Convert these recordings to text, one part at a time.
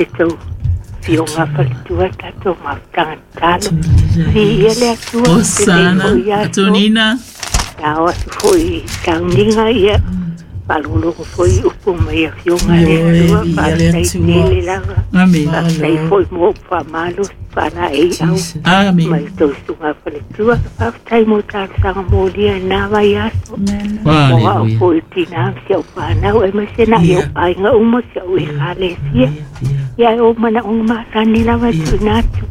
Le tou afioga faletua tatou mafutaga tatalo. Viia le Atua. Hosana, Antonina. Tao atu foi i tauniga ia faalogologo foi i upu mai afioga a le Atua. Faafetai tele lava. Amen. Faafetai foi mo upu faamalosi faalaeiau Amen. mai tou susuga faletua. Faafetai mo talosaga molia i na vaiaso. Mo au Hallelujah. foi tinā ma si au fanau aemaise na i ou aiga uma si au ekalesia. Ia e o manaoga masani lava e tuuina atu.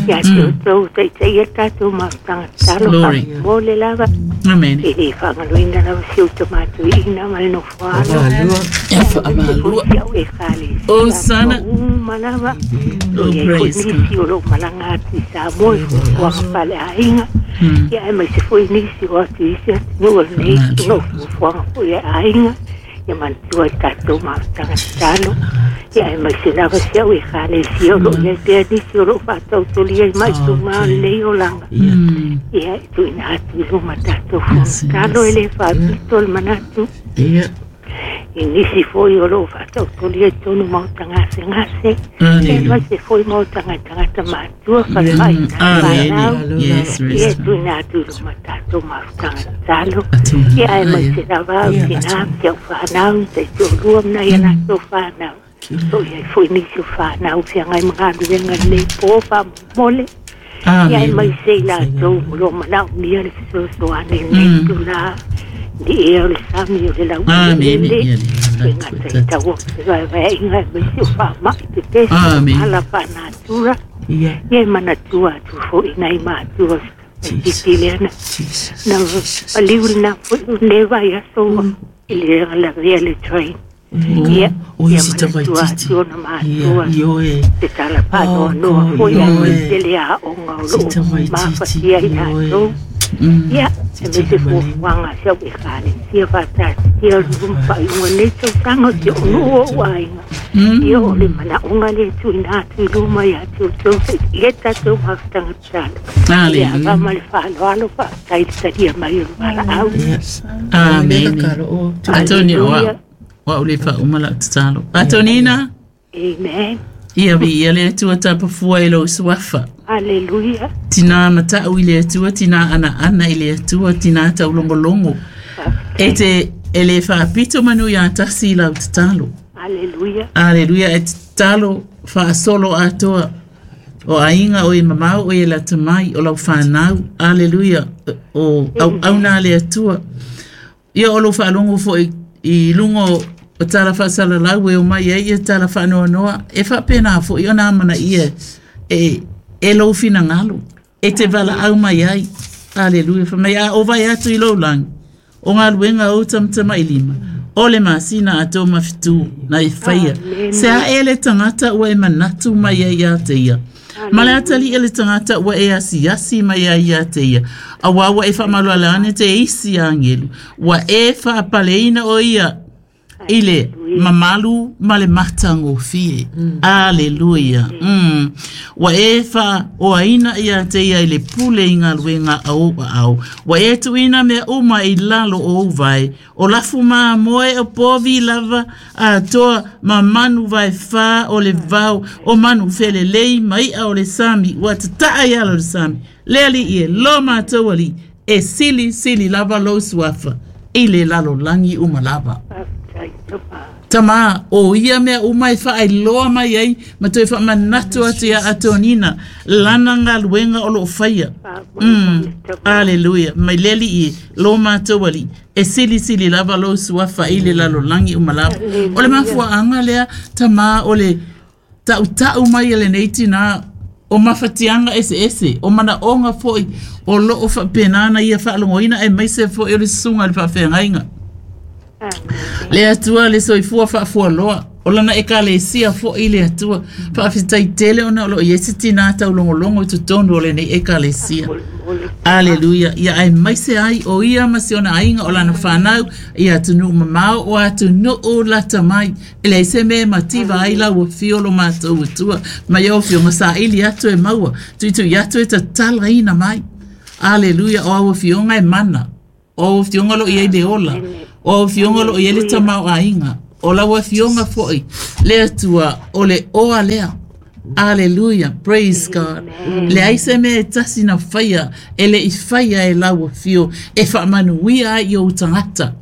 Ia te outou taitaia tatou mafutaga tatalo Glory. faamolemole lava. Amen. E le faagaloina lava si ou tamatoeaina ma le nofoalo. Ia faamalua. Si au ekalesia. Hosana. Uma lava. Oh, Ia foi praise God. nisi o loo malaga atu i Samoa i fuafuaga faaleaiga. Ia aemaise foi nisi o atu i isi atunuu o lenei o fuafuaga foi a aiga. Ia manatua i tatou mafutaga tatalo. Ia aemaise lava si au ekalesia o loo iai pea nisi o loo faatautolia i maituma o lenei olaga. Ia e tuuina atu i luma tatou fono e le faapito le manatu i nisi foi o loo faatautolia i totonu ma o tagasegase. Aemaise foi ma o tagata matua falemai fanau. Amen. Yes, Ia e rest. tuuina atu i luma tatou mafutaga tatalo. Ia aemaise lava au tinā ma si au fanau taitoalua ma nai a latou fanau. O iai foi nisi o fanau feagai ma galuega lenei po faamolemole. Ia Amen. aemaise i latou o loo manaomia le fesoasoani i lenei itulā. Ni ea o le sami o le Amen. laueleele. Ia le E gata i taua fevaevaeaiga aemaise o faamai pepesi Amen. ala faanatura. Ia e manatua atu foi nai matua titi lea na na paliu lena foi o lenei vaiaso ua i le lavea le train. Ia ia manatua atu ona matua te tala faanoanoa foi aemaise le aoga o loo mafatia i latou. Ia aemaise fuafuaga a si au ekalesia faataatitia o le faaiuga o lenei tausaga o si ou nuu o ou aiga. Ia o le manaoga lea e tuuina atu i luma ia te outou ia tatou mafutaga tatalo. Ia Hallelujah. ava ma le faaaloalo faafetai le talia mai o le valaau. Amen. Antonina, wa Hallelujah. wa ule faauma lau tatalo. Antonina, Amen. ia viia le Atua tapafua i lou suafa. Hallelujah. Tinā matau i le Atua, tinā anaana i le Atua, tinā taulogologo. E te e le faapito manu iā tasi i lau tatalo. Hallelujah. Aleluia, e tatalo faasolo atoa. O aiga o e mamao o e lata mai o lau whanau. Aleluia, o au auna le Atua. Ia o lou faalogo foi i luga o tala faasalalau e omai ai ia tala faanoanoa e faapena foi ona amanaia e, e lou finagalo e te valaau mai ai. Aleluia. Fai mai a o vai atu i lou lagi o galuega ou tamatamailima o le masina atoa ma fetu na e faia. Se a e le tagata ua e manatu mai ai ia te ia. Ma le atalii e le tagata ua e asiasi mai ai ia te ia. Auā ua e faamaluala ane te isi agelu. Ua e faapaleina o ia i le mamalu ma le matagofie. Aleluia. Ua e faaoaina ia te ia i le pule i galuega a ou aao. Ua e tuuina mea uma i lalo o ou vae. O lafu mamoe o povi lava atoa ma manu vaefā o le vao o manu felelei ma i'a o le sami ua tata'a i ala o le sami. Le alii e lo matou alii e sili sili lava lou suafa i le lalolagi uma lava. Faafetai tama. Tama, o ia mea uma e faailoa mai ai ma toe faamanatu atu ia Atonina lana galuega o loo faia. Faamolemole tama. Aleluia. Mai le alii e lo matou alii e silisili lava lou suafa i le lalolagi uma lava. O le mafuaaga lea tamā o le taʻutaʻu mai e lenei tinā o mafatiaga eseese o manaoga foi o loo faapenā na ia faalogoina aemaise foi o le susuga i le faafeagaiga. Amen. Le Atua le soifua faafualoa o lana ekalesia foi le Atua. Faafetai tele ona o loo i ai se tinā taulogologo i totonu o lenei ekalesia. Faamolemole. Aleluia. Ia aemaise ai o ia ma si ona aiga o lana fanau ia atunuu mamao o atunuu lata mai. E leai se mea e mativa ai lau afio lo matou Atua. Mai au afioga saili atu e maua. Tuitui atu e tatalaina mai. Aleluia. O au afioga e mana. O au afioga o loo i ai le ola. O au afioga o loo i ai le tamaoaiga. O lau afioga foʻi le Atua o le oa lea. Aleluia, praise God. Leai se mea e tasi na faia e leʻi faia e lau afio e faamanuia ai i ou tagata.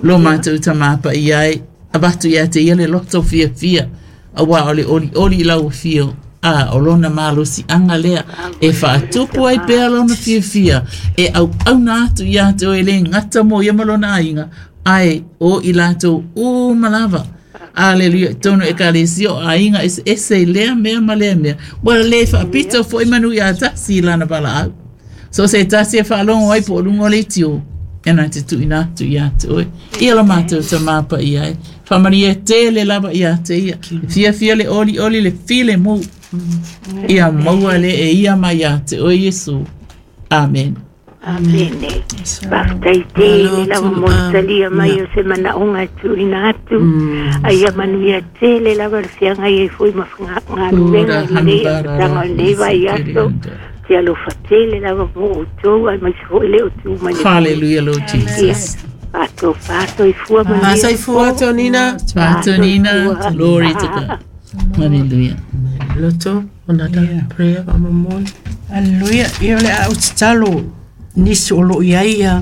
Lo matou Tamā Paia e, avatu ia te ia le loto fiafia, auā o le olioli i lau afio, a o lona malosiaga lea e faatupu ai pea lona fiafia e auauna atu ia te oe e le gata mo ia ma lona aiga, ae o i latou uma lava. Aleluia, i totonu o Ekalesia o aiga eseese i lea mea ma lea mea, ua le faapito foi manu ia tasi i lana valaau. So o se tasi e faalogo ai po o luga o leitio, e na te tuuina atu ia te oe. Ia lo matou Tamā Paia e, faamanuia tele lava ia te ia. Fiafia le olioli le filemu. Ia maua le e ia mai ia te oe Iesu. Amen. Amene. Faafetai tele lava mo le talia mai o se manaoga e tuuina atu. A ia manuia tele lava le feagai ai foi ma galuega i lenei amataga o lenei vaiaso. Te alofa tele lava mo outou aemaise foi le o tu mai le Hallelujah, Lord Jesus. Faatofa soifua manuia. Soifua Tonina. Tonina, glory to God. Hallelujah. Loto, another prayer faamolemole. Aleluia. Ia o le a ou tatalo nisi o lo o i ai ia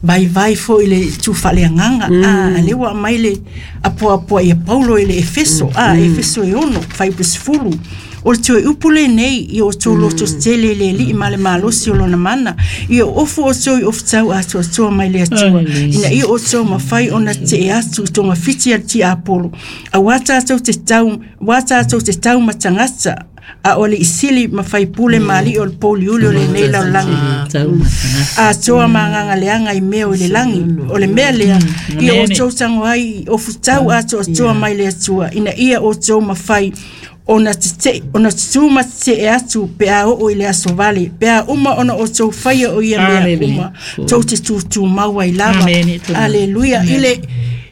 vaivai foi i le itu faaleagaga. A lea ua aumai le apoapoa ia Paulo i le Efeso, a Efeso e 6, fuaiupu 10. O le toe upu lenei i o outou loto tetele i le Alii ma le malosi o lona mana, ia ofu outou i ofutau atoatoa mai le Atua, ina ia outou mafai ona tetee atu i togafiti a le tiapolo, aua tatou te tau, aua tatou te tau ma tagata, a o alii sili ma faipule ma alii o le pouliuli o lenei lalolagi atoa ma agaga leaga i mea o i le lagi. O le mea lea, ia outou tago ai i ofutau atoatoa mai le Atua, ina ia outou mafai ona tetee, ona tutū ma tetee atu pe a oo i le aso vale, pe a uma ona outou faia o ia mea uma, tou te tutumau ai lava. Aleluia. I le,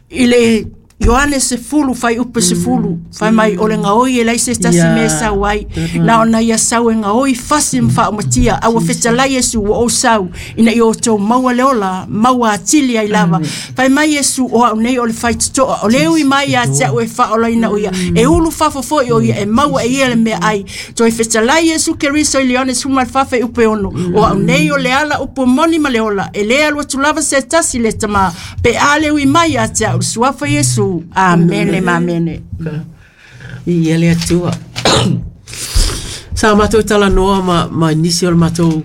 i le Ioane 10, fuaiupu 10, fai mai o le gaoi e leai se tasi mea e sau ai, na ona ia sau e gaoi fasi ma faaumatia, a ua fetalai Iesu ua ou sau, ina ia outou maua le ola, maua atili ai lava. Fai mai Iesu, o au nei o le faitotoa, o le ui mai ia te au e faaolaina o ia, e ulu fafo foi o ia, e maua e ia le meaai. Toe fetalai Iesu Keriso i le Ioane 14 fuaiupu 6, o au nei o le ala upu moni ma le ola, e le alu atu lava se tasi i le Tamā, pe a le ui mai ia te au, i le suafa o Iesu. Amene ma amene. Viia le Atua. Sa matou talanoa ma, ma nisi o le matou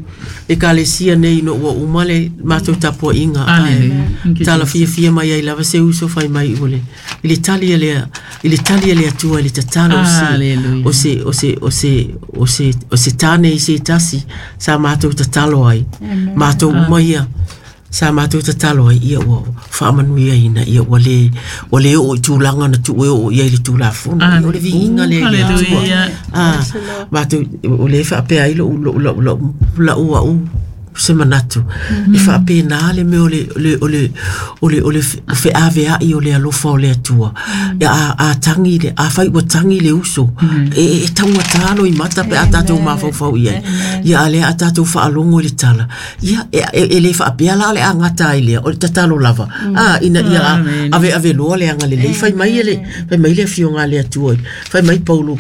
ekalesia nei ina ua uma le matou tapuaiga. Ae tala fiafia mai ai lava se uso fai mai ua le, i le tali a le, i le tali a le Atua i le tatalo o se, o se, o se, o se, o se, o se tāne i se tasi sa matou tatalo ai. Matou uma ia. Sa matou tatalo ai, ia ua faamanuiaina, ia ua le, ua le oo i tulaga na tuu e oo i ai le Tulafono. Ia, o le viiga lea i le Atua. Ah, matou, o lea e faapea ai lou, lou, lou, lou, lou au se manatu. E faapena le mea o le, o le, o le, o le, o le feaveai o le alofa o le Atua. A, a tagi le, afai ua tagi le uso, e, e taugata loimata pe a tatou mafaufau i ai. Ia, a o lea a tatou faalogo i le tala, Ia, e, e, e le faapea la o le a gata ai lea, o le tatalo lava, a, ina ia aveave loa le agalelei. Fai mai e le, fai mai le Afioga a le Atua, fai mai Paulo,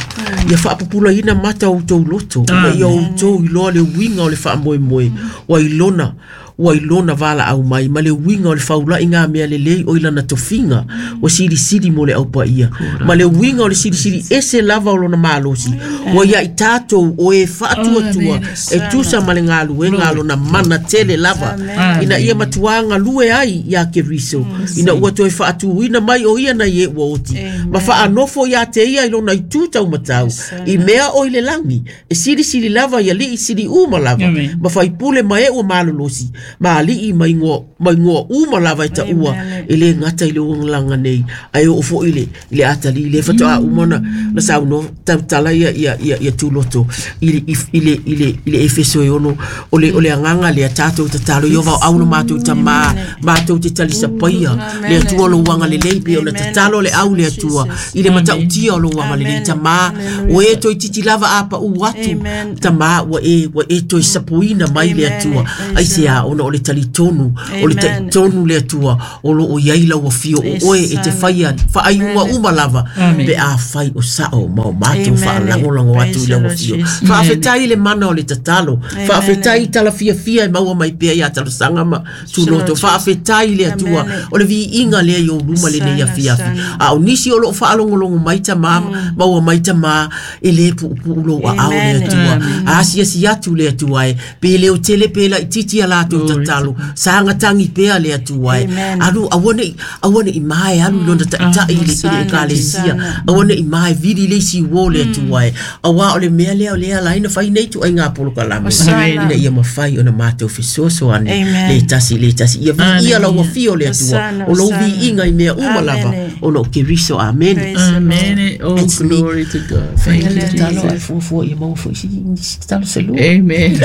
ia faapupulaina mata o outou loto, ina ia outou iloa le uiga o le faamoemoe, ua i lona, ua i lona valaau mai, ma le uiga o le faula'i ngā mea lelei o i lana tofiga, ua silisili mo le Au Paia, ma le uiga o le silisili ese lava o lona malosi, ua ia i tatou o e faatuatua e tusa ma le galuega a lona mana tele lava, ina ia matuā galue ai iā Keriso, ina ua toe faatūina mai o ia nai e ua oti, ma faanofo iā te ia i lona itu taumatau, i mea o i le lagi, e silisili lava i alii sili uma lava, ma faipule ma e ua malolosi, ma alii ma igoa, ma igoa uma lava e taua, e le gata i le olaga nei, ae oo foi i le, i le atalii lea faatoa uma ona na saunoa tautala ia ia ia ia Tuloto i le i le i le i le Efeso e 6 o le o le agaga lea tatou tatalo ia vaoau lo matou Tamā matou te talisapaia le Atua o lou agalelei pei ona tatalo le au le Atua i le matautia o lou agalelei Tamā ua e toeitiiti lava a paū atu Tamā ua e ua e toe sapuina mai le Atua aisea ona Ona o le talitonu, o le talitonu le Atua o lo o i ai lau afio o oe e te faia faaiuga uma lava pe afai o sao ma o matou faalagolago atu i lau afio. Faafetai i le mana o le tatalo, faafetai i tala fiafia e maua mai pea ia Talosaga ma Tuloto. Faafetai i le Atua o le viiga lea i ou luma lenei afiafi. A o nisi o lo o faalogologo mai tama, maua mai tama, e le puupuu lou aao le Atua. Asiasi atu le Atua e, pe leotele pe laitiiti a latou tatalo, saga tagi pea le Atua e. Alu, aua ne i, aua ne i mae alu i lona taitai i le, i le ekalesia. Aua ne i mae vili i le isi uo le Atua e. Auā o le mea lea o lea e ala ai ona fai nei ituaiga polokalame, ina ia mafai ona matou fesoasoani le tasi i le tasi. Ia viia lau afio le Atua, o lou viiga i mea uma lava ona o Keriso. Amene. Amene. Oh, It's me. glory to God. Thank you, Tatalo Jesus. ae fuafua ia maua foi si si tatalo se lua. Amen.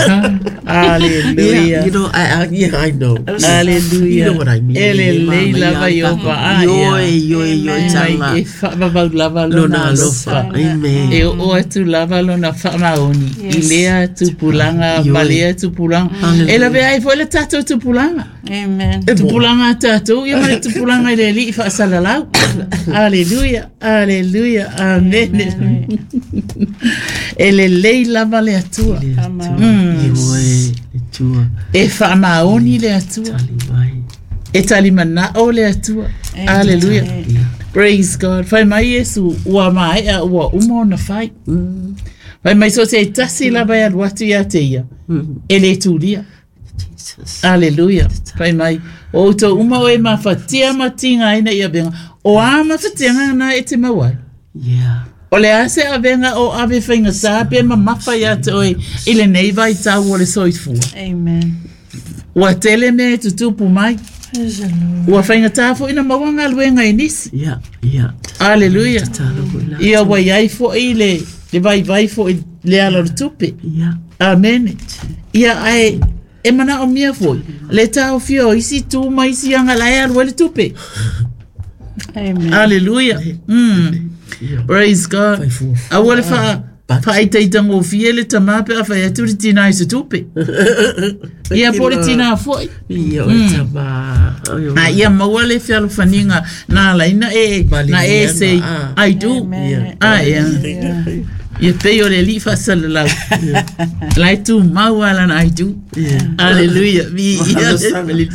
Hallelujah. Yeah, you know, I, yeah, I know. Hallelujah. You know what I mean. E lelei lava i o vaa ia. Ioe, ioe, ioe, Mai tala. e faavavau lava Lona lona alofa. alofa. Amen. E oo atu lava lona faamaoni i lea tupulaga ma Ioe. lea tupulaga. E lavea ai foi le tatou tupulaga. Amen. Tupulaga a tatou ia ma le tupulaga i le alii faasalalau. Aleluia, aleluia, amene. E lelei lava le Atua. Ioe, le Atua. E faamaoni le Atua. Tali mai. E talimanao le Atua. Aleluia. Praise God. Fai mai Iesu, ua maea ua uma ona fai. Fai mai so se tasi lava e alu atu ia te ia. E le tulia. Jesus. Aleluia. Fai mai, o outou uma o e mafatia ma tigaina i avega. O a mafatiaga na e te mau ai. Yeah. O le a se avega o ave faigata pe mamafa ia te oe i lenei vaitau o le soifua. Amen. Ua tele mea e tutupu mai. Praise the Lord. Ua faigata foi na maua galuega i nisi. Yeah, yeah. Aleluia. Tatalo foi la. Ia ua iai foi le, le vaivai foi le ala o le tupe. Yeah. Amene. Ia ae e manaomia foi le taofia o isi tu ma isi aga la e alu ai le tupe. Amen. Aleluia. Praise God. Fai fuafua. Aua le faa faaitaitagofie le tamā pe a fai atu le tinā i se tupe. Ia po o le tinā foi. Ia o tama. Oi, oi. A ia maua le fealofaniga na alaina e na e say ah. I do. Amen. Ah, ia. Ia pei o le alii faasalalau. La e tumau lava lana I do. Aleluia. Viia le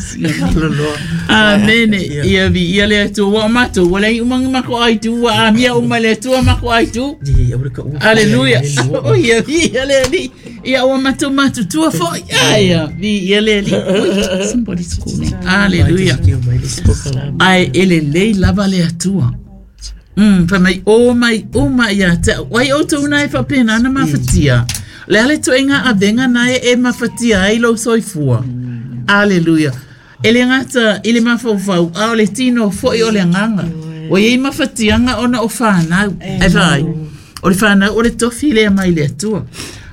Loloa. Amene. Ia viia le Atua. Ua o matou, ua leai uma ni matou I do, ua amia uma e le Atua matou I do. Ia, ua ka ua. Aleluia. O ia viia le alii. Ia ua matou matutua foi. Ai, viia le alii. Ui, somebody's calling. Aleluia. Ae e lelei lava le Atua. Fai mai o mai uma ia te au. Ai outou na e faapena na mafatia. Le a le ituaiga avega na e e mafatia ai lou soifua. Aleluia. E le gata i le mafaufau, a o le tino foi o le agaga. Ua iai mafatiaga ona o fanau. Ai vaai. O le fanau o le tofi lea mai le Atua.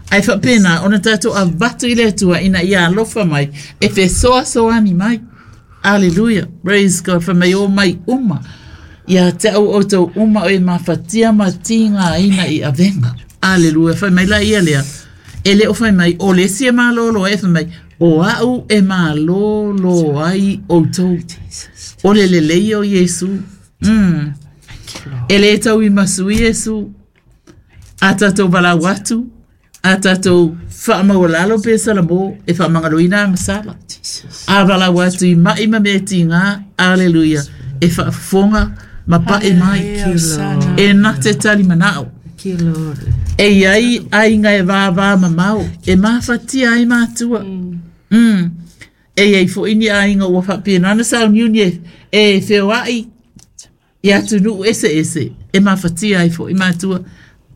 Ae faapena ona tatou avatu i le Atua ina ia alofa mai e fesoasoani mai. Aleluia. Praise God. Fai mai o mai uma. Ia te au outou uma o e mafatia ma tigaina i avega. Aleluia. Fai mai la ia lea. E le o fai mai, o le isi e malōlō ai, e fai mai, o au e malōlō ai outou. O le lelei o Iesu. E le tauimasui Iesu. A tatou valaau atu, a tatou faamaualalo pe salamo e faamagaloina agasala. A valaau atu i mai ma mea tiga, aleluia, e faafofoga ma pae mai. E na te talimanao. E iai aiga e vāvā mamao, e mafatia ai matua. E iai foi ni aiga ua faapena ona sauniuni e, e feoai i atunuu eseese, e mafatia ai foi matua.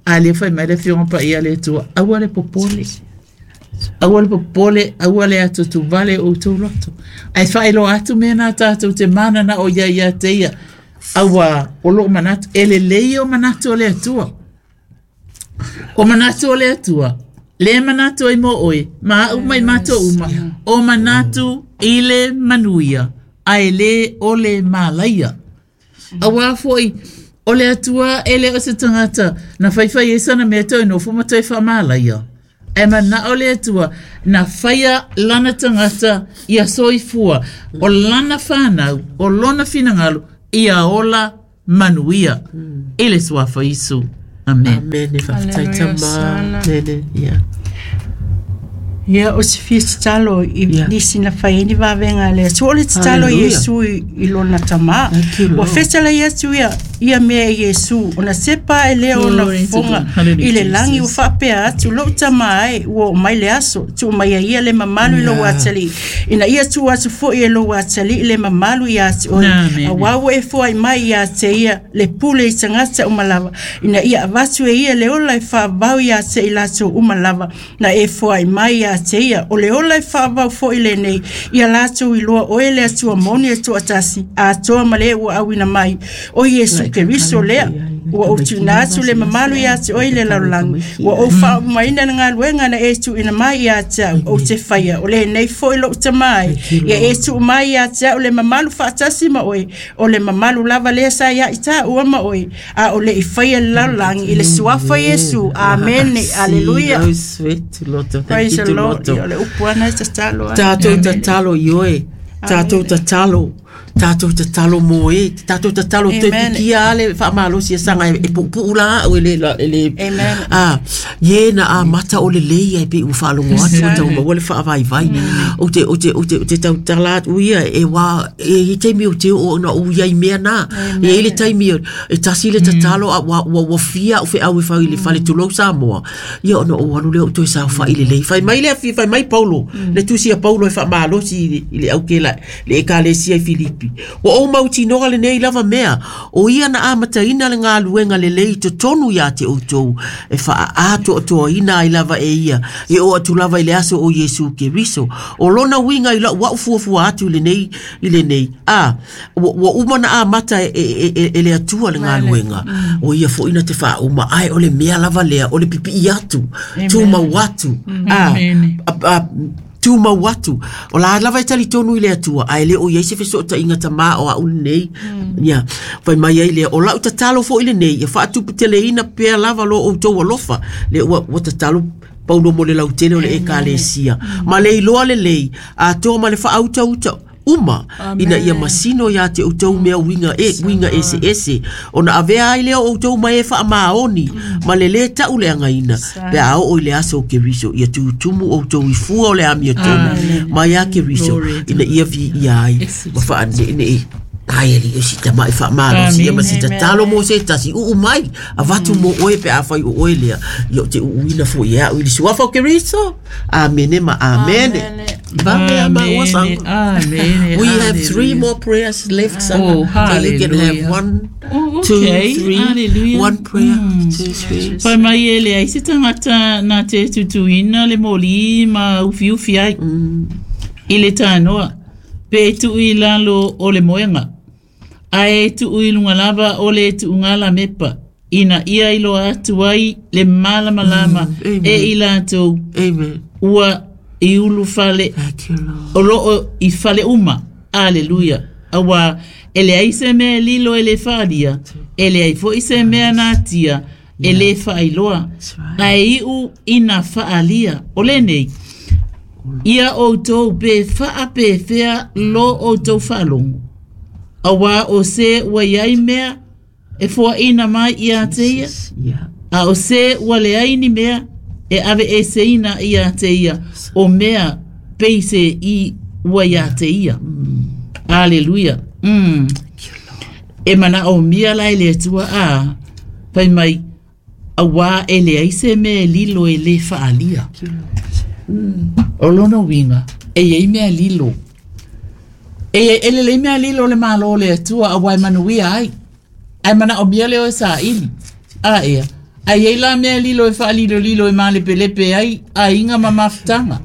A lea fai mai le afioga paia a le Atua, aua le popole. Aua le popole, aua le atuatuvale o outou loto. Ae faailoa atu mea na tatou te manana o ia ia te ia. Aua o loo manatu, e lelei o manatu o le Atua. O manatu o le Atua, le manatu ai mo oe, ma au mai matou uma, o manatu i le manuia, ae le o le malaia. Auā foi, o le Atua e le o se tagata na faifai ai sana mea toe nofo ma toe faamalaia. Ae mana'o le Atua na faia lana tagata ia soifua, o lana fanau, o lona finagalo, ia ola manuia. I le suafa Iesu. Amen. Amene, faafetai Hallelujah, tama. Sana. Amene, ia. Ia o se fia tatalo i Ia. nisi na fai ai ni vavega a le Atua. O le tatalo i Hallelujah. Iesu i lona tamā. Thank you, Ua Lord. fetalai atu ia ia mea i Iesu, ona sepa ae lea ona Glory to fofoga God. Hallelujah, i le lagi ua Jesus. faapea atu, lou tamā ai, ua oo mai le aso, tuu mai ai ia le mamalu i lou Yeah. atalii, ina ia tuu atu fo'i e lou atalii le mamalu iā te oe, Amen. auā ua e foai mai iā te ia le pule i tagata uma lava, ina ia avatu e ia le ola e faavavau iā te i latou uma lava, na e foai mai iā te ia, o le ola e faavavau fo'i lenei, ia latou iloa oe le Atua moni e to'atasi, atoa ma le ua auina mai, o Iesu Keriso lea, ua ou tuuina atu le mamalu iā te oe i le lalolagi, ua ou faaumaina le galuega na e tuuina mai iā te au, ou te faia, o lenei fo'i lo'u tamā ai, ia e tuu mai iā te au le mamalu faatasi ma oe, o le mamalu lava lea sa ia'i tāua ma oe, a o le'i faia le lalolagi i le suafa Iesu. Amene, aleluia. Oh, sweet, Loto. Thank Praise you the to Lord. Loto. Ia, o le upu ana e tatalo ai. Tātou tatalo i oe. Tātou tatalo. Tātou tatalo mō e. Tātou tatalo te Amen. pikia ale whaamalosi e sanga e pupu la au e le, la- e le Amen. Ah, ye na a mata o le lei ai pe u whaalongo atu o tau maua le whaavaivai. O te, o te, o te, o te tau tala atu ia e wā, e i taimi o te o na o ia i mea nā. E i le taimi o, e tasi le tatalo a wa, wa, wa fia o whe au e whau i le whale tulou Samoa. Ia ona o alu lea o toe sao wha i le lei. Whai mai le afi, whai mai Paulo. Le tusi a Paulo e whaamalosi i le, i le au ke la, le ekalesia i Filipi. Wa o mautinoa le nei lava mea, o ia na amataina le galuega lelei i totonu iā te outou, e faaatoatoaina ai lava e ia, e oo atu lava i le aso o Iesu Keriso. O lona uiga i la'u a'u fuafua atu i lenei, i lenei. A, ua uma na amata e, e, e, e le Atua le galuega. O ia fo'i na te faauma, ae o le mea lava lea, o le pipi'i atu, tumau atu. A, Amene. a, a, tumau atu. O la lava e talitonu i le Atua, ae le o iai se fesootaiga tamā o a'u lenei. Ia, fai mai ai lea, o la'u tatalo fo'i lenei, ia faatuputeleina pea lava lo outou alofa, le ua, ua tatalo Paulo mo le lautele o le ekalesia. Ma le iloa lelei, atoa ma le faautauta uma ina ia masino iā te outou mea uiga e uiga eseese ona avea ai lea o outou ma e faamaoni ma le lē ta'u le againa pe a oo i le aso o Keriso ia tutumu outou i fua o le amiotonu ma iā Keriso Glory to ina ia viia ai ma faane'ene'e ai ali o si tama'i faamalosi ia ma si tatalo mo se tasi uu mai avatu mo oe pe afai o oe lea ia o te uuina fo'i e a'u i le suafa o Keriso. Amene ma amene. Vave a maua Amene, sanga. amene, We have three hallelujah. more prayers left, Sanga. Oh, So you can have hallelujah. one, Oh, two, okay. three, Hallelujah. one prayer, two, three. Fai mai e le ai se tagata na te tutuina le moli ma ufiufi ai. I le tānoa, pe tuu i lalo o le moenga. Ae e tuu i lunga lava o le tuuga lamepa, ina ia iloa atu ai le malamalama Amen. e i latou Amen. ua i ulu fale Thank you, Lord. o loo i fale uma. Aleluia. Auā e leai se mea e lilo e lē faalia, e leai fo'i se mea na atia e lē faailoa. right. Ae iʻu ina faalia. O lenei, ia outou pe faapefea lo outou faalogo. Auā o se ua iai mea e foaʻina mai iā te ia, Yeah. a o se ua leai ni mea e ave eseina iā te ia, o mea pei se i ua iā te ia. Aleluia. E manaʻomia la e le Atua a, fai mai, auā e leai se mea e lilo e lē faalia. O lona uiga, e iai mea lilo. E, e lelei mea lilo o le malo o le Atua auā e manuia ai. Ae manaʻomia lea o e saʻili. A ea, ae iai la mea lilo e faalilolilo e malepelepe ai aiga ma mafutaga.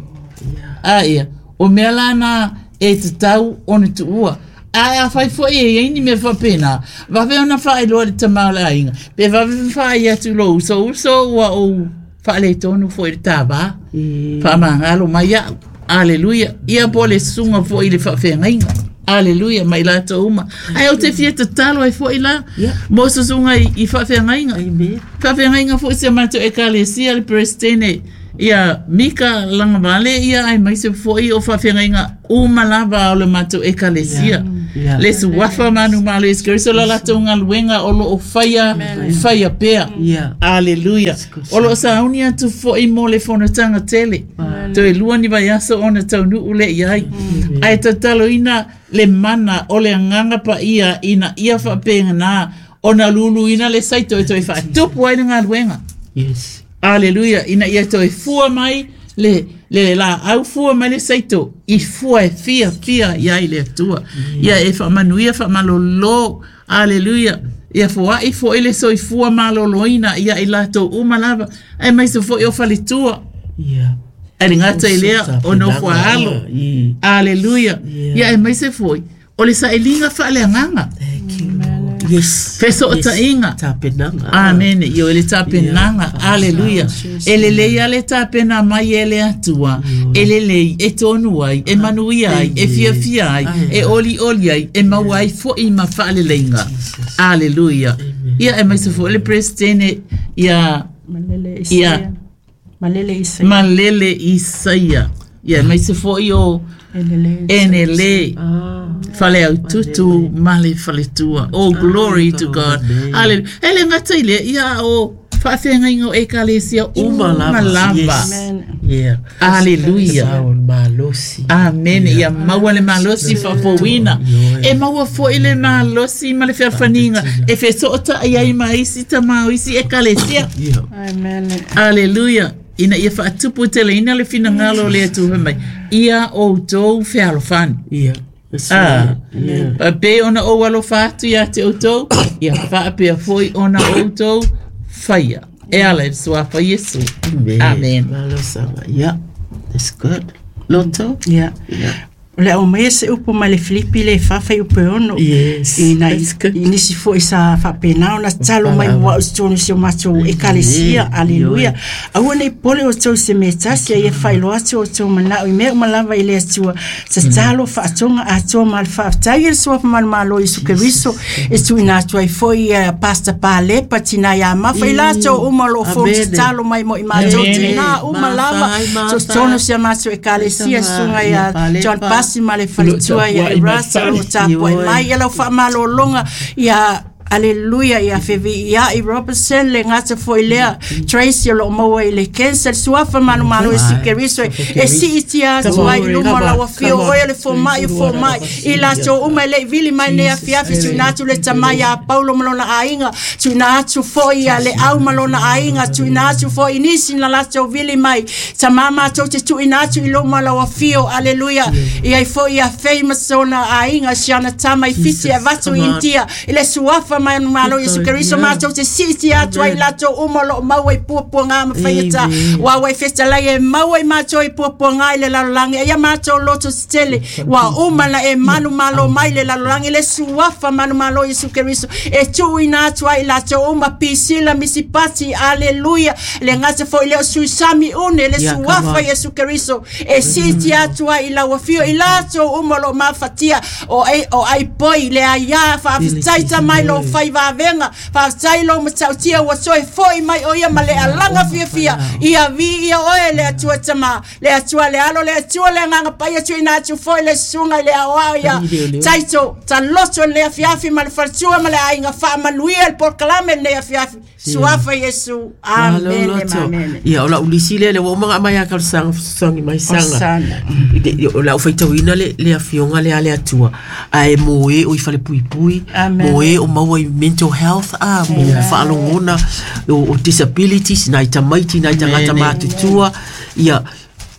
A ea, o mea lana e tatau ona tuua. Ae afai fo'i e iai ni mea faapena, vave ona faailoa i le tamā o le aiga, pe vave faai atu lou uso, uso ua ou faaletonu fo'i i le tāvā. Faamagalo mai a'u. Aleluia. Ia po o le susuga fo'i i le faafeagaiga. Aleluia, mai latou uma. Ae ou te fia tatalo ai fo'i la, Yeah. mo susuga i faafeagaiga. Amen. Faafeagaiga fo'i si a matou ekalesia le Peresetene Ia Mika Lagavale ia aemaise fo'i o faafeagaiga uma lava o le matou Ekalesia. Yeah. Le suafa manumalo Iesu Keriso le latou galuega o loo faia faia pea. Yeah. Aleluia. O loo sauni atu fo'i mo le fonotaga tele. Toe lua ni vaiaso ona taunuu lea i ai. Ae tataloina le mana o le agaga paia ina ia faapegana ona luluina le saito e toe faatupu ai le galuega. Yes. Aleluia, ina ia toe fua mai le le laau fua mai le saito i fua e fia fia i ai le Atua. Ia e faamanuia faamalolo. Aleluia. Ia foai fo'i le soifua maloloina ia i latou uma lava aemaise fo'i o faletua. Yeah. Ae le gata i lea o nofo a alo. Aleluia. Ia aemaise fo'i o le sailiga faaleagaga. Thank you, Lord. Yes. Fesootaiga. Tapenaga. Amene. Ioe le tapenaga. Aleluia. E lelei lava le tapena mai e le Atua. E lelei e tonu ai, e manuia ai, e fiafia ai, e olioli ai, e maua ai fo'i ma faaleleiga. Aleluia. Ia aemaise foi le Peresetene ia Malele Ia. Isaia. Malele Isaia. Malele Isaia. Ia aemaise foi o Enele. Enele. Faleaututu ma le faletua. Oh, glory to God. Hallelujah. E le gata i lea, ia o faafeagaiga o Ekalesia uma Uma lava. lava. Yes. Amen. Yeah. Aleluia. Sao le malosi. Amene. Ia maua le malosi faafouina. E maua fo'i le malosi ma le fealofaniga e fesoota'i ai ma isi tamā o isi Ekalesia. Yeah. Amen. Aleluia. Ina ia faatupu teleina le finagalo o le Atua fai mai. Ia outou fealofani. Yeah. That's Ah. right. Yeah. Pe ona ou alofa atu ia te outou, ia faapea fo'i ona outou faia. E ala i le suafa Iesu. Amen. Amen. Malosaga. Yeah. That's good. Loto? Yeah. Yeah. O le au mai e se upu mai le Filipi le fawhai upu e ono. Yes. I nai That's good. i nisi fo'i sa faapena ona tatalo mai mo a'u i totonu o si o matou ekalesia. Aleluia. Aua nei pole outou i se mea tasi a ia faailoa atu outou mana'o i mea uma lava i le Atua. Tatalo faatoga atoa ma le faafetai e le suafa manumalo Iesu Keriso e tuuina atu ai fo'i ia Pastor Palepa tinā iā Mafa i latou uma o loo Amene. fonotatalo mai mo i matou Amene. tinā uma lava Mafa ai, mafa. totonu o si a matou ekalesia susuga ia Ia Palepa. John Pasi ma le faletua ia Lo tapua'i mai Erasa o lo fale. tapua'i Ioe. mai ia lau faamalologa ia Aleluia ia feviia'i Robertson le gata fo'i lea Tracy o loo maua i le cancer suafa manumalo Iesu Keriso e siitia atu ai i luma o lau afio oe o le foma'i o foma'i i latou uma e le'i vili mai nei afiafi tuuina atu le tamai iā Paulo ma lona aiga tuuina atu fo'i ia le au ma lona aiga tuuina atu fo'i nisi na latou vili mai tamā matou te tuuina atu i luma o lau afio aleluia ia ai fo'i ia fei ma sona aiga siana tama i Fiti e avatu i Come on. Intia i le suafa manumalo Iesu Keriso Yeah. matou te siitia atu ai i latou uma o loo maua i puapuagā ma faigata Amen. ua ua i fetalai e maua i matou i puapuagā i le lalolagi aia matou loto tetele ua uma na e manumalo mai le lalolagi le suafa manumalo Iesu Keriso e tuuina atu ai i latou uma pisila misipati aleluia le gata fo'i lea o suisami une le Yeah, come suafa on. Iesu Keriso e siitia atu ai i lau afio i latou uma o loo mafatia o ai o ai poi le aiā faafetai tamai lou fai vavega faafetai lou matautia ua toe fo'i mai o ia ma le alaga fiafia ia viia oe le Atua tamā le Atua le alo le Atua le agaga paia tuuina atu fo'i le susuga i le aoao ia Taito taloto lenei afiafi ma le faletua ma le aiga faamanuia le polokalame lenei afiafi suafa Iesu amene Malo ma loto. amene. Ia, o lau lisi lea, le ua uma nga mai a kalosanga, fesoasoani mai saga. Osana. O lau faitauina le, le afioga le a le Atua, ae mo e o i falepuipui, Amen. mo e o maua i mental health, a, mo faalogona, o, o disabilities, nai tamaiti, nai tagata matutua, ia,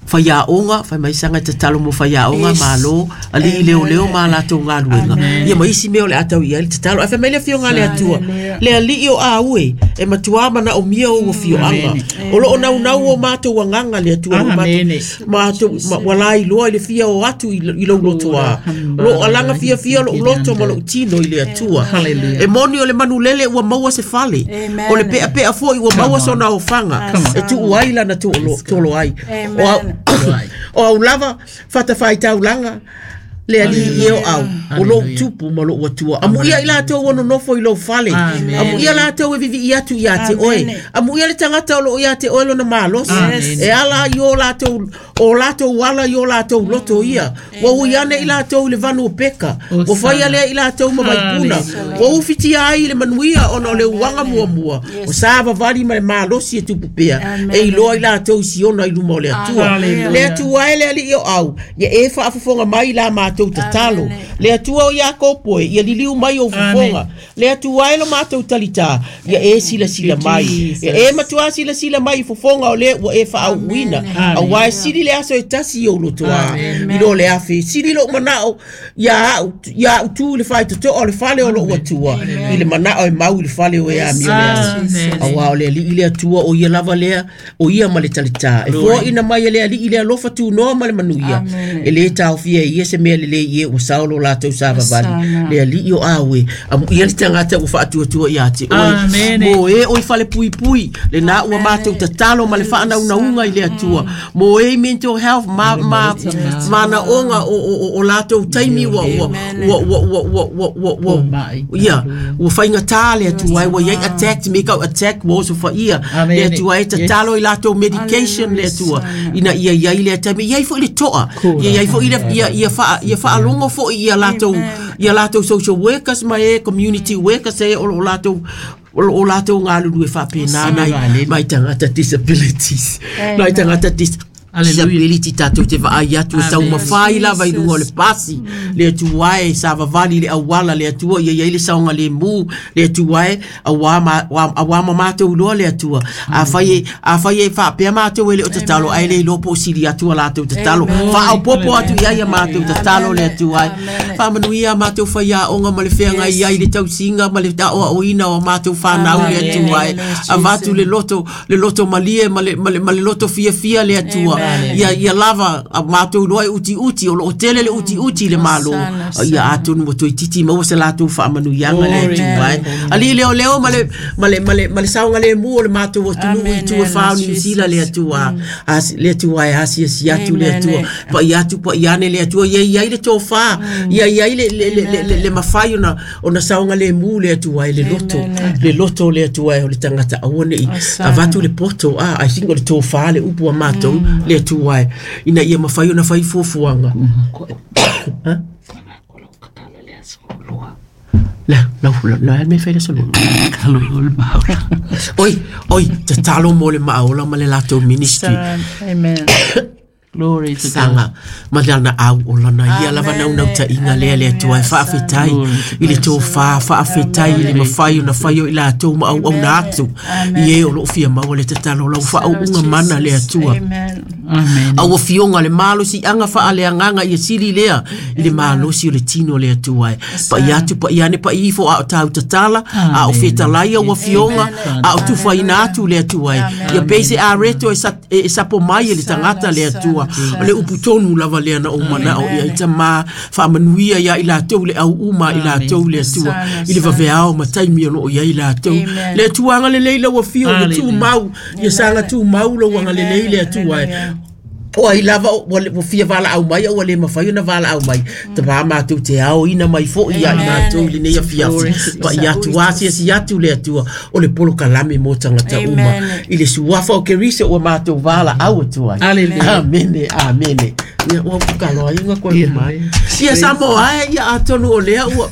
faiaoga, faimaisaga e tatalo mo faiaoga, Yes. malo, alii leoleo ma latou galuega. Ia ma isi mea o le a tau i ai le tatalo. Ae fai mai le afioga a le Atua, le alii o au e, e matuā manaomia ou afioaga. O loo naunau o matou agaga le Atua, o matou- Amene. matou ma- ua lailoa i le fia o atu i i lou loto a. Loo alaga fiafia lou loto ma lou tino i le Atua. Hallelujah. E moni o le manulele ua maua se fale. Amen. O le peapea fo'i ua maua sona ofaga. E tuu ai lana tolo ai. Amen. O au- O au lava fatafaitaulaga Le alii e o au, o lou tupu ma lou atua. Amuia i latou ua nonofo i lou fale. Amuia latou e vivii atu ia te oe. Amuia le tagata o loo ia te oe lona malosi. E ala i o latou, o latou ala i o latou loto ia. Ua ui ane i latou i le vanu o peka. Ua faia lea i latou ma vaipuna. Ua ufitia ai i le manuia ona o le uaga muamua. O savavali ma le malosi e tupu pea. E iloa i latou i Siona i luma o le Atua. Le Atua e le alii o au, ia e faafofoga mai i la matou tatalo. Le Atua o Iakopo e, ia liliu mai ou fofoga. Le Atua e lo matou talitā, ia e silasila mai. Ia e matuā silasila mai i fofoga o le ua e faaauuina. Auā e sili le aso e tasi i ou lotoā, i lo le afe. Sili lou manao ia au, ia au tu i le faitotoa o le fale o lou Atua, i le manao e mau i le fale o e amio le aso. Auā o le Alii le Atua, o ia lava lea, o ia ma le talitā. E foaina mai e le Alii le alofa tunoa ma le manuia. E lē taofia e ia se mea lelei i e ua sao lo latou savavali. Le Alii o au e, amuia le tagata ua faatuatua ia te oe. Mo e o i falepuipui, lenā ua matou tatalo ma le faanaunauga i le Atua. Mo e i mental health, ma, ma, manaoga o, o, o, o latou taimi ua, ua, ua, ua, ua, ua, ua, ua, ua, ia, ua faigata le Atua e, ua iai attack, me kau attack, ua osofaia le Atua e, tatalo i latou medication le Atua, ina ia iai lea taimi, iai foi le toa, ia iai foi le, ia, ia, wha, ia whaalongo foi ia latou, ia latou social workers ma e community workers e o lo latou, o lo latou galulue faapena nai, mai tagata disabilities, nai tagata dis, Disability tatou te vaai atu e taumafai lava i luga o le pasi le Atua e savavali i le auala le Atua ia i ai le saogalemu le Atua e auā ma auā ma matou iloa le Atua afai e afai e faapea matou e le o tatalo ae le iloa po o sili atu a latou tatalo faaopoopo atu i ai a matou tatalo le Atua e faamanuia a matou faiaoga ma le feagai ai i le tausiga ma le aoaoina o a matou fanau le Atua e avatu le loto le loto malie ma le, ma le, ma le loto fiafia le Atua. Ia, ia lava a matou iloa e utiuti, o lo o tele le utiuti i le Malo. Ia atonu ua toeitiiti maua se latou faamanuiaga le Atua e. Alii leoleo ma le, ma le, ma le, ma le saogalemu o le matou atunuu i itu e fa o Niu Sila le Atua. As, le Atua e asiasi atu le Atua. Pai atu pai ane le Atua. Ia i ai le tofa, ia i ai le, le, le, le, le, le mafai ona, ona saogalemu le Atua e le loto, le loto o le Atua e o le tagata aua ne i avatu le poto, a, I think o le tofa le upu a matou le Atua e, ina ia mafai ona fai fuafuaga. Ha? La, la, la, la, me fai le aso lua. Oi, oi, tatalo mo le maaola ma le latou ministry. Amen. Glory to God. Saga ma lana au o lana ia lava naunautaiga lea le Atua e faafetai i le tofa, faafetai i le mafai ona fai o i latou ma auauna atu i e o loo fia maua le tatalo lau faauuga mana le Atua. Amen. Au afioga le malosiaga faaleagaga ia sili lea i le malosi o le tino le Atua e. Pai atu pai ane pai ifo a o tāu tatala, a o fetalai au afioga, a o tufaina atu le Atua e. Ia pei se areto e sa e sapo mai e le tagata le Atua. O le upu tonu lava lea na ou manao i ai tamā faamanuia ia i latou le auuma i latou le Atua i le vaveao ma taimi o lo o i ai latou. Le Atua agalelei lau afio i le tumau, ia saga tumau lou agalelei le Atua e. O ai lava ua fia valaau mai a ua le mafai ona valaau mai, tamā matou te aoina mai foi ia i matou i lenei afiafi. Pai atu, asiasi atu le Atua o le polokalame mo tagata uma i le suafa o Keriso ua matou valaau atu ai. Aleluia. Amene, amene. Ia, ua kaloa inga koe mai. Ia Samoa e, ia atonu o lea ua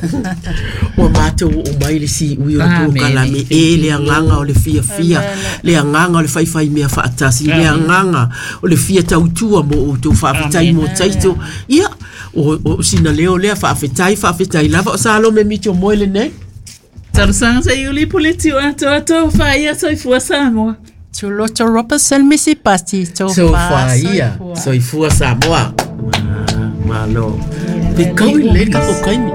ua matou oo mai le siui o le polokalame e le agaga o le fiafia, le agaga o le faifai mea faatasi, le agaga o le fia tautua mo outou faafetai mo Taito. Ia, o, o sina leo lea faafetai, faafetai lava o Salome Mito Moe lenei. Talosaga se i uli puleti o atoa whaia soifua Samoa. Tuloto Robertson Missy Pati Tofa Sofa ia, soifua Samoa. Malo. Te kau i le ka o kaimi.